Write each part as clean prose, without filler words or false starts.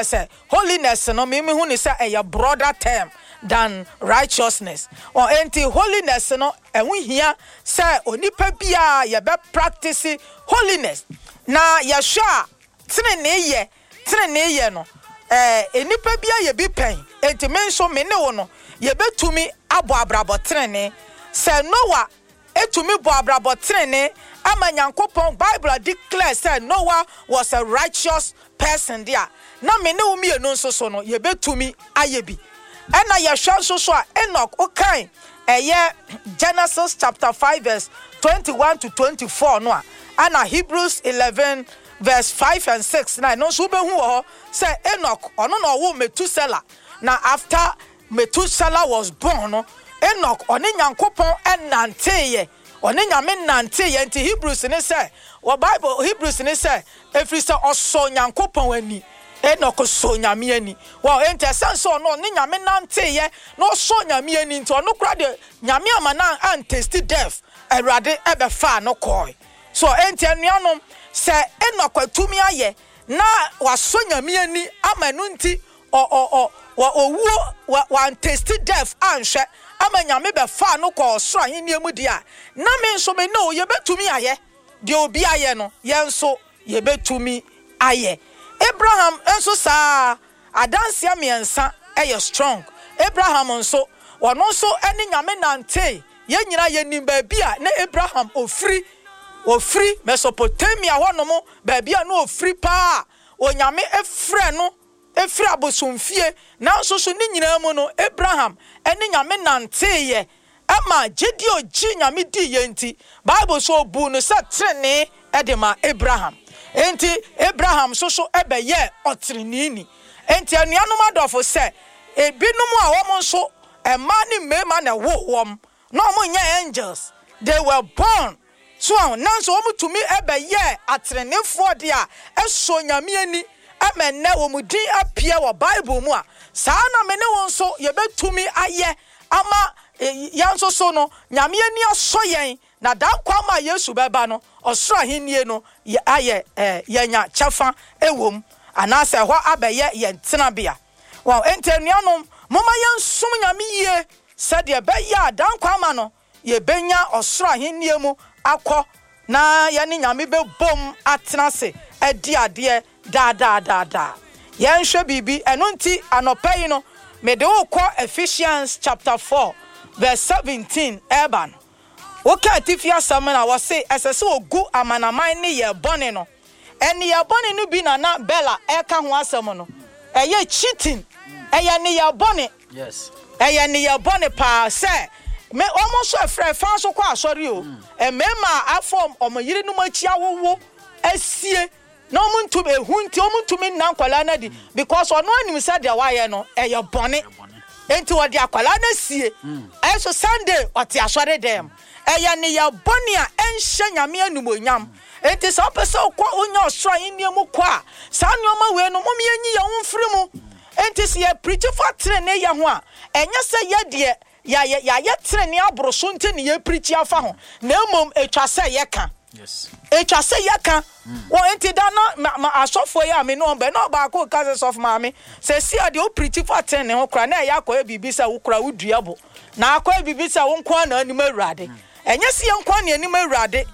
kyerɛ sɛ holiness no me mehu no sɛ ɛyɛ broader term than righteousness. Ɔ enti holiness no ɛho hia sɛ onipa biara yɛbɛ practice holiness. Na yɛhwɛ a tenenee yɛ tenenee yɛ no ɛɛ nnipa biara yɛ bi pɛn. Enti me nso me ne wo no yɛbɛtumi abɔ abrabɔ tenenee. Sɛ Noah tumi bɔ abrabɔ trenee ma Nyankopɔn, Bible declare sɛ Noah was a righteous person de a, na me ne wo mmienu nso so no, yɛbɛtumi ayɛ bi. Ɛna yɛhwɛ nso so a, Enoch, wokan ɛyɛ Genesis chapter 5 verse 21 to 24 no a, ɛna Hebrews 11 verse 5 and 6 na ɛno nso wobɛhu wɔ hɔ sɛ Enoch, ɔno na ɔwoo Methuselah, na after Methuselah was born no, Enoch ɔne Nyankopɔn nanteeɛ, ɔne Nyame nanteeɛ, nti Hebrews ne sɛ, wɔ Bible, Hebrews ne sɛ, ɛfiri sɛ ɔsɔɔ Nyankopɔn ani, Enoch sɔɔ Nyame ani, wɔ, enti ɛsiane sɛ ɔno ɔne Nyame nanteeɛ na ɔsɔɔ Nyame ani nti, ɔno koraa deɛ Nyame amma no antesti death, Awurade bɛfaa no kɔɔe. So, enti anuanom, sɛ Enoch atumi ayɛ na wasɔ Nyame ani ama ɛno nti Ɔ ɔ ɔ wɔ owuo wɔ wantesti death anhwɛ ama Nyame bɛfaa no kɔɔ ɔsoro ahennie mu deɛ a, na me nso me ne wo yɛbɛtumi ayɛ deɛ obi ayɛ no, yɛn nso yɛbɛtumi ayɛ. Abraham nso saa ara, adanseɛ mmiɛnsa yɛ strong. Abraham nso, ɔno nso ne Nyame nantee, yɛn nyinaa yɛnim baabi a na Abraham ɔfiri, ɔfiri Mesopotamia hɔnom, baabi a na ɔfiri paa a Onyame frɛɛ no firi abosomfie, nanso so ne nyinaa mu no Abraham ne Nyame nanteeɛ ma gyedie a ɔgyee Nyame diiɛ nti, Bible se ɔbuu no sɛ tenenee de maa Abraham. Enti Abraham nso so bɛyɛɛ ɔteneneeni. Enti anuanom adɔfo, sɛ ebinom a wɔn nso mmaa ne mmarima na ɛwoo wɔn, na wɔn nyɛ angels, they were born So wahu? Nanso wɔtumi bɛyɛɛ atreneefoɔ de a ɛsɔ Nyame ani ma ɛnnɛ wɔn din apue wɔ Bible mu a, saa ara na me ne wo nso yɛbɛtumi ayɛ ama yɛn nso so no Nyame ani asɔ yɛn na daa nkwa ma Yesu bɛba no, ɔsoro ahennie no ayɛ yɛanya kyɛfa wɔ mu anaasɛ ɛhɔ abɛyɛ yɛn tenabea. Wahu? Enti anuanom, momma yɛnsom Nyame yie sɛdeɛ ɛbɛyɛ a daa nkwa ama no Yɛbɛnya ɔsoro ahennie mu akɔ na yɛne Nyame bɛbom atena ase adi adeɛ daadaa daadaa. Yɛnhwɛ biribi, ɛno nti anɔpa yi no mede wo rekɔ Ephesians chapter 4 verse 17 ɛreba no. Woka atifi asɛm no a, wɔse ɛsɛ sɛ wɔgu amanaman nneyɛɛ bɔne no. Nneyɛɛ bɔne no bi na na Bella reka ho asɛm no. Ɛyɛ cheating, ɛyɛ nneyɛɛ bɔne. Ɛyɛ nneyɛɛ bɔne paa sɛ me wɔn nso ɛfrɛ fa nso kɔ asɔre o. Mmarima a afa wɔn yerenom akyi awowo asie na wɔn ntumi ehu nti wɔn ntumi nna nkwadaa no adi because ɔno anim sɛ deɛ wayɛ no ɛyɛ bɔne nti ɔde akwadaa no asie. Ɛnso Sunday ɔte asɔre dɛm. Ɛyɛ nneyɛɛ bɔne a ɛnhyɛ Nyame animuonyam. Enti sɛ wopɛ sɛ wokɔ wonya ɔsoro ahenni mu kɔ a, saa nneɛma wei no mom yɛnyi yɛn ho mfiri mu. Enti sɛ yɛ preachi fa trenee yɛ ho a, ɛnyɛ sɛ yɛ deɛ yɛayɛ yɛayɛ trenee aboro so nti na yɛ preachi afa ho, na mmom ɛtwa sɛ yɛka. Ɛtwa sɛ yɛka. Wɔ enti da na ma ma asɔfoɔ yi a me ne wɔn bɛ, na ɔbaako reka sɛ, Sɔfo maame, seesei a deɛ wo preachi fa trenee ho koraa na ɛyɛ akɔyɛ biribi sɛ wo koraa wo dua bo, na akɔyɛ biribi sɛ wo nko ara na anim Awurade. Ɛnyɛ sɛ yɛn nko ara na yɛnim Awurade.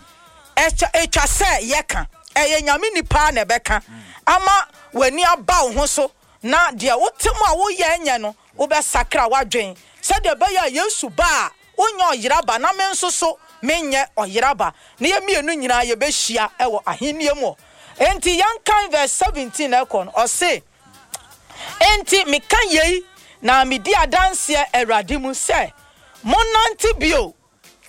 Ɛtwa ɛtwa sɛ yɛka. Ɛyɛ Nyame nipa na ɛbɛka ama w'ani aba wo ho so na deɛ wote mu a woyɛ nyɛ no wobɛsakra w'adwen sɛdeɛ ɛbɛyɛ a Yesu ba a wonyɛ ɔyera ba na me nso so menyɛ ɔyera ba na yɛn mmienu nyinaa yɛbɛhyia wɔ ahennie mu. Enti yɛnkan verse 17 ɛkɔ no, ɔse, Enti meka yei na medi adanseɛ Awurade mu sɛ monnante bio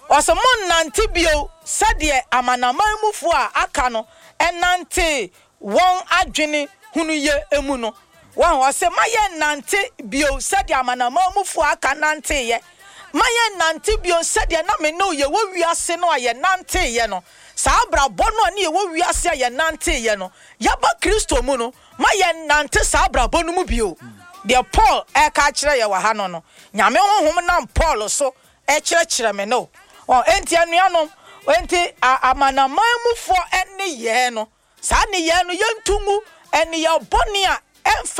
Ɔse, Monnante bio sɛdeɛ amanaman mufoɔ a aka no nantee wɔn adwene hunuyɛ mu no. Wahu? Ɔse, Ma yɛnnante bio sɛdeɛ amanaman mufoɔ a aka nanteeɛ. Ma yɛnnante bio sɛdeɛ na me ne wo yɛwɔ wiase no a yɛnanteeɛ no. Saa abrabɔ no a ne yɛwɔ wiase a yɛnanteeɛ no, yɛaba Kristo mu no, ma yɛnnante saa abrabɔ no mu bio. Deɛ Paul reka akyerɛ yɛn wɔ ha no no, Nyame Honhom nam Paul so Kyerɛkyerɛ me no. Ɔ, enti anuanom, enti a, amanaman mufoɔ nneyɛɛ no, saa nneyɛɛ no yɛnto ngu, nneyɛɛ bɔne a ɛmfa.